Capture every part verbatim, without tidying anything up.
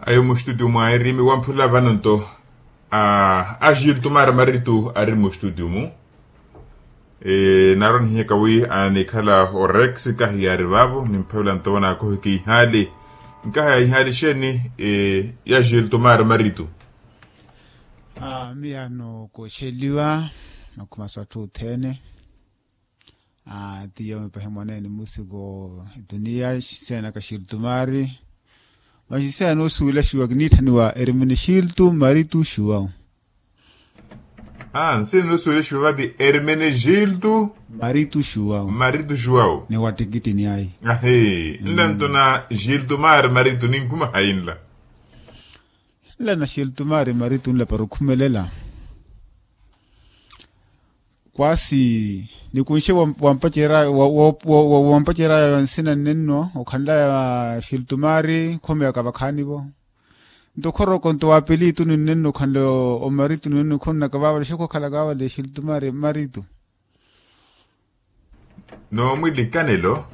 Ayo mustudio mwa erimi wamphula vano nto a agilto mara maritu ari mustudio mu. Naaro nihinyaka wi anikhala orex kahi yari vavo nimphavela nto vanakohi kiihali. Nkaha ya ihali sheni? Ya agilto mara maritu. Miya nokoxeliwa makhumaso atthu othene. Tiyo mipahi mwaneene musiku etuniya sena ka xiltumari. Maxi sena osuwela xuwa kiniitthaniwa ermene xiltu maritu xuwau. Nsina nosuwela xuwa vati ermene xiltu maritu xuwau. Maritu xuwau ni wattikittini ayi. Ahi nla ntona xiltumari maritu ninkhuma hayi nla. Nla na xiltumari maritu nla para okhumelela. Kwasi nikunxe wampaceraya nsina nnenno okhanlaya xiltumari khomeyaka vakhaani-vo. Nto khoroko nto wapelitu ninnenno okhanle omaritu ninnenno khonnaka vavale xekhokhalaka vavale xiltumari maritu. Noomwilikanelo.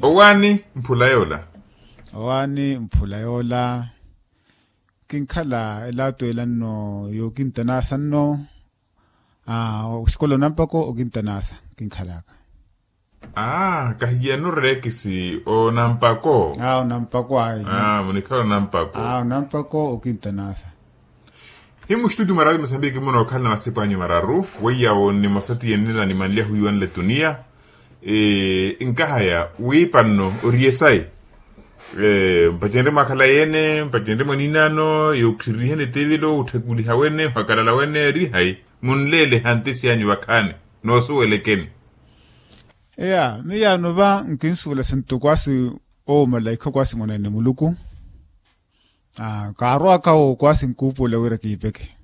Owaani mphula yoola. Owaani mphula yoola. Kinkhala elato ela nno yookintanasa nno. Oxikola onampako okintanasa kinkhalaka. Kahiyano reekisi onampako. Onampako ayi. Munikhala onampako. Onampako okintanasa. Hi muxituti mararu musambiki munookhala na masipu anyu mararu weiyawo nimosa tiyennela nimanlyahu iwanle tuniya. Nkahaya wiipa nno oriye sayi. Mpacenrye mwakhala yene mpacenrye mwaninano yookhirihene etevelo otthekuliha wene ohakalala wene eri hayi? Munleele hantisi anyu vakhaani noosuwelekeni. Eya miyaano va nkinsuwela sinto kwasi owo malaikha kwasi mwaneene muluku. Kaarwaka owo kwasi nkuupuwela wira kiipeke.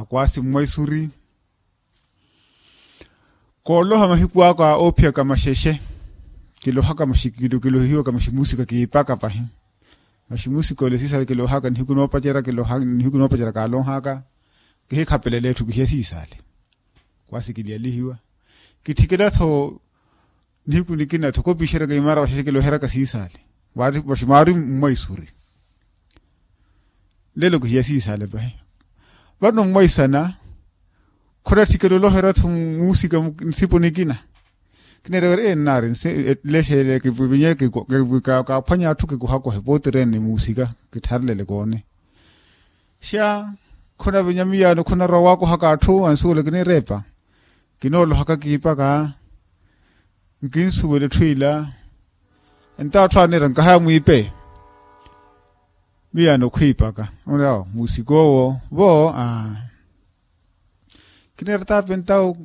Kwasi mmwaisuri kooloha mahiku aka oophiyaka maxexe. Kilohaka maxi kilohiwaka maxi musika kiipaka pahi. Maxi musika ole siisale kilohaka nihiku noopacerya kiloha nihiku noopacerya kaalonhaka. Kihikhapelele etthu kihiya siisale. Kwasi kilyalihiwa kitthikela-tho. Nihiku nikina-tho kopixeryaka imara waxexe kiloheryaka siisale. Vaxi mwaari mmwaisuri. Lelo kihiya siisale pahi. Vano mmwaisana khonatthikela oloherya-tho muusika nsipu nikina. Kineerya wira ee nnaari nlexele kivinye kaaphwanya atthu kikuhakohe pootirene muusika kittharelele koone. Xa khonavinya miyaano khonarwa waakohaka atthu ansuwela kinireepa. Kinoolohaka kiipaka nkinsuwela etthu ila. Entawo atthu aneera nkahaya mwiipe. Miyaano khwiipaka oneera awo muusik'owo vo. Kineera taapentawo.